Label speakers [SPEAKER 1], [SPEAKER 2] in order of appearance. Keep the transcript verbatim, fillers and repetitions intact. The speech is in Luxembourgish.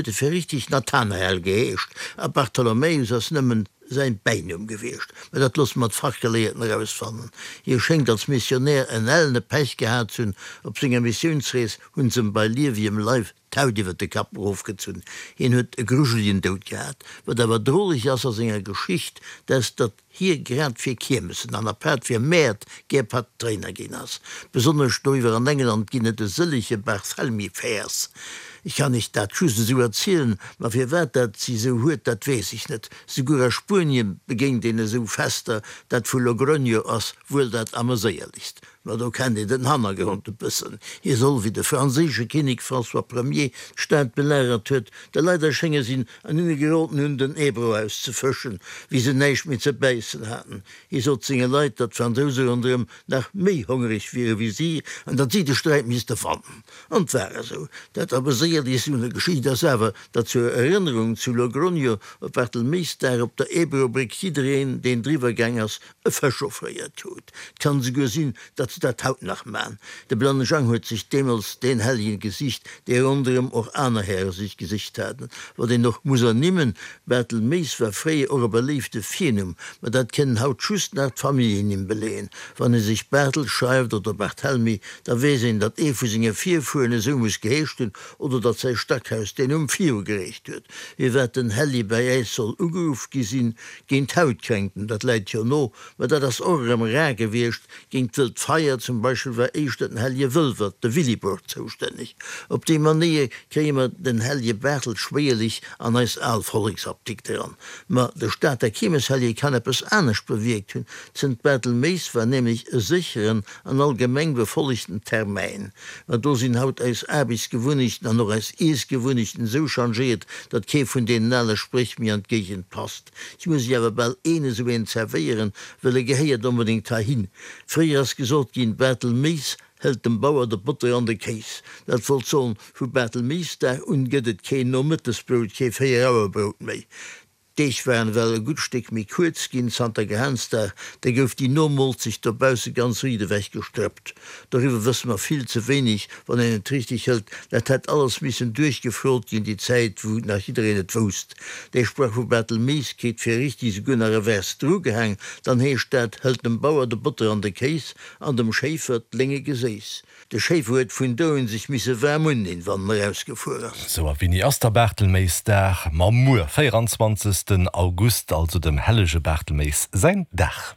[SPEAKER 1] e fir richtig Nathanael geheescht a Bartholomäus ass nëmmen säin Bäinumm gewiescht. Mä dat loosse mer d'Fachgeleeërten erausfannen. Hie schéngt als Missionär en ellene Pech gehat z'hunn, op senger Missiounsrees hunn s'em bei liewegem Leif d'Haut iwwer de Kapp erofgezunn. Hien huet e grujeligen Doud gehat. Wat awer droleg ass a senger Geschicht, dat ass, datt hie grad fir Kiermessen an apaart fir Mäert gär Patréiner ginn ass. Besonnesch doiwwer an England ginn et e sëllege Barthelmy Fairs. Ech kann iech dat just esou erzielen, ma firwat dat si esou huet, dat weess ech net. Souguer a Spuenien begéint een esou Fester, dat vu Logroño ass wuel dat ameséierlechst. Ma do kennt een den Hannergrond e bëssen. Hie soll, wéi de franséische Kinnek François Premier d'Stad belagert huet, de Leit erschénge sinn an hinne geroden hunn, den Ebro auszefëschen, wéi se näischt méi ze bäissen haten. Hie sot senge Leit, datt d'Fransouse ronderëm nach méi hongereg wiere wéi si an datt si de Sträit misste fannen. An 't war esou. Dat Ameséierlechst un der Geschicht ass awer, datt zur Erënnerung zu Logroño op Bartelméisdag op der Ebro-Bréck jiddereen, deen driwwer gaang ass, e Fësch offréiert krut. 't kann esouguer sinn, datt se dat haut nach man. De Blanne Jang huet sech deemools deen Helljen gesicht, dee ronderëm och aner Häre sech gesicht haten. Wat een och muss ernimmen, Bartelméis war fréier och e beléifte Virnumm, ma dat kënnen haut just nach d'Familljennimm beleeën. Wann ee sech Bartel schreift oder Barthelmy, da weess een, datt ee vu senge Virfueren esou muss geheescht hunn oder datt säi Stackhaus deen Numm virugereecht huet. Firwat den Helli bäi äis soll ugeruff gi sinn, géint Hautkränkten, dat läit jo no, ma dat ass och erëm rar gewiescht. Géint d'wëllt Feier zum Beispill war éischter den Hellje Wëlwert, de Willibrord, zoustänneg. Op déi Manéier kréie mer den Hellje Bartel schwéierlech an eis al Volleksapdikt eran. Ma de Stater Kiermeshellje kann eppes anescht bewierkt hunn, Zënt Bartelméis war nämlech e sécheren an allgemeng befollegten Termäin. Ma do sinn haut eis Aarbechtsgewunnechten an och eis Iessgewunnechten esou changéiert, datt kee vun deenen ale Spréch méi an d'Géigend passt. Ech muss iech awer bal een esou een zerwéieren, well e gehéiert onbedéngt heihin. Fréier ass gesot ginn, Bartelméis hëlt dem Bauer de Botter an de Kéis. Dat wollt soen, vu Bartelméisdag un gëtt et keen Nomëttesbrout, kee Véierauerbrout méi. D'Deeg waren ewell e gutt Stéck méi kuerz ginn zanter Gehansdag, da gouf déi Nomolzecht dobausse ganz riit ewech gestrëppt. Doriwwer wësse mer vill ze wéineg, wann een et richteg hëlt. Dat hätt alles missen duerchgefrot ginn, déi Zäit wou nach jiddereen et wousst. Dee Sprach vu Bartelméis kritt fir richtig esouguer nach e Vers drugehaang, dann heescht dat, Hëlt dem Bauer de Botter an de Kéis an dem Schéifer d'Lénge Geséiss. De Schéifer huet vun do un sech misse waarm undinn, wann en erausgefuer ass.
[SPEAKER 2] Sou, a wéini ass da Bartelméisdag? Ma muer, véieranzwanzegsten August, also dem hellege Bartelméis säin Dag.